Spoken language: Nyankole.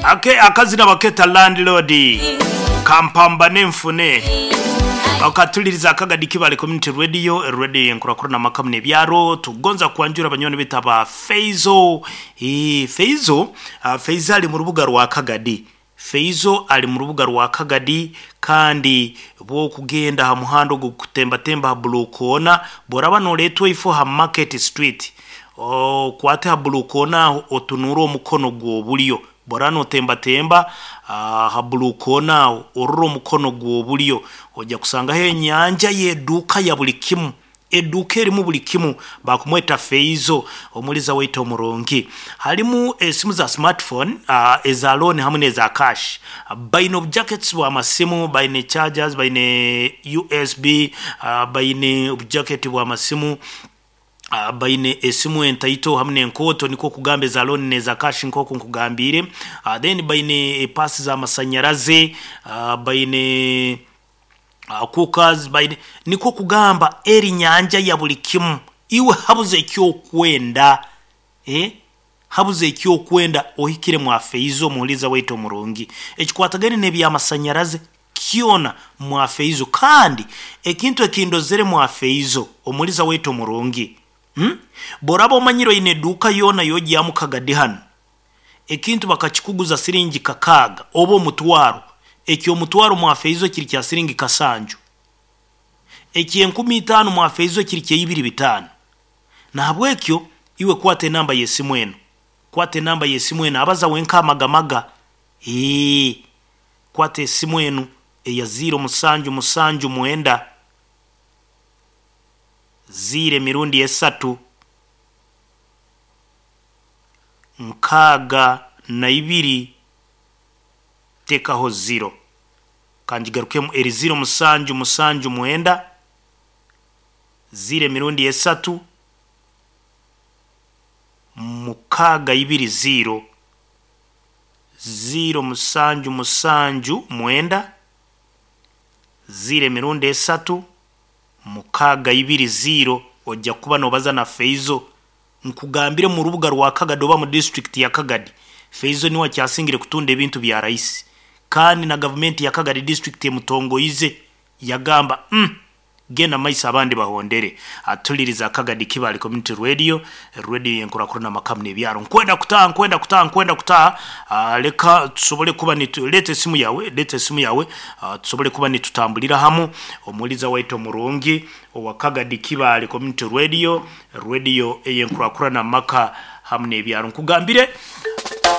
Ake akazina baketa Landlord Kampambane nfune Okatuliriza Akagadi Kibale Community Radio, radio yenkurakurana amaka muno ebyaro. Tugonza kwanjura banywani baitu aba Feizo. Eeh Feizo, Feizo ali mu rubuga rwa Kagadi. Feizo ali mu rubuga rwa Kagadi kandi bwokugenda aha muhanda ogu kutembatemba aha Blue Corner, bworaba noretwa eifo ha Market Street, okwate ha Blue Corner aho otunuure omukono gw'oburyo. Bworaba notembatemba aha Blue Corner aho orore omukono gw'oburyo, oija kusangaho enyanja y'eduuka ya buri kimu. Eduuka erimu buri kimu baakumweta Feizo omuliza waitu omurungi. Harimu esimu za smartphone, eza loan hamwe n'eza cash. Baine obujackets bw'amasimu, baine chargers, baine USB, baine obujacket bw'amasimu, baine esimu entaito hamwe n'enkooto nikwo kugamba eza loan n'eza cash nk'oku nkugambiire. Then baine epaasi z'amasanyarazi, baine. Cookers baine, nikwo kugamba eri nyanja ya buri kimu. Iwe habuze eki okwenda, eh, habuze eki okwenda ohikire mwafeizo omuhuriza waitu omurungi. Ekikwatagaine n'eby'amasanyarazi kyona mwafeizo. Kandi ekintu eki ndozere mwafeizo omuhuriza waitu omurungi, hmm, bw'oraba omanyire oine eduuka yoona y'ogyamu kagadi hanu, Ekintu bakakikuguza siringi kakaaga oba omutwaro, eky'omutwaro mwafeizo kiri kya siringi kasanju, eky'enkumi itaano mwafeizo kiri kya ibiri bitaano. Nahabwekyo iwe kwata enamba y'esimu enu, kwata enamba y'esimu enu, abaza wenka amagamaga, eeh, kwata esimu enu eya ziiro musanju musanju mwenda, ziiro emirundi esatu, 62 tekaho ziro. Kangigarukemu eri ziro musanju musanju mwenda, ziro emirundi esatu, 62 ziro, ziro musanju musanju mwenda, ziro emirundi esatu, 62 ziro. Oja kuba nobaza na Feizo. Nkugambire mu rubuga rwa Kagadi oba mu disiturikiti ya Kagadi, Feizo niwe akyasingire kutunda ebintu bya raisi kandi na gavumenti ya Kagadi disiturikiti emutongoize yagamba umm genda maiso abandi bahondere. Atuliriza Kagadi Kibale Community Radio, radio yenkurakurana amaka n'ebyaro. Nkwenda kutaaha, nkwenda kutaaha, nkwenda kutaaha, leka tusobole kuba nitu leeta esimu yawe, leeta esimu yawe tusobole kuba nitutambulira hamu. Omuhuriza waitu omurungi owa Kagadi Kibale Community Radio, Radio ey'enkurakurana amaka hamu n'ebyaro. Nkugambire.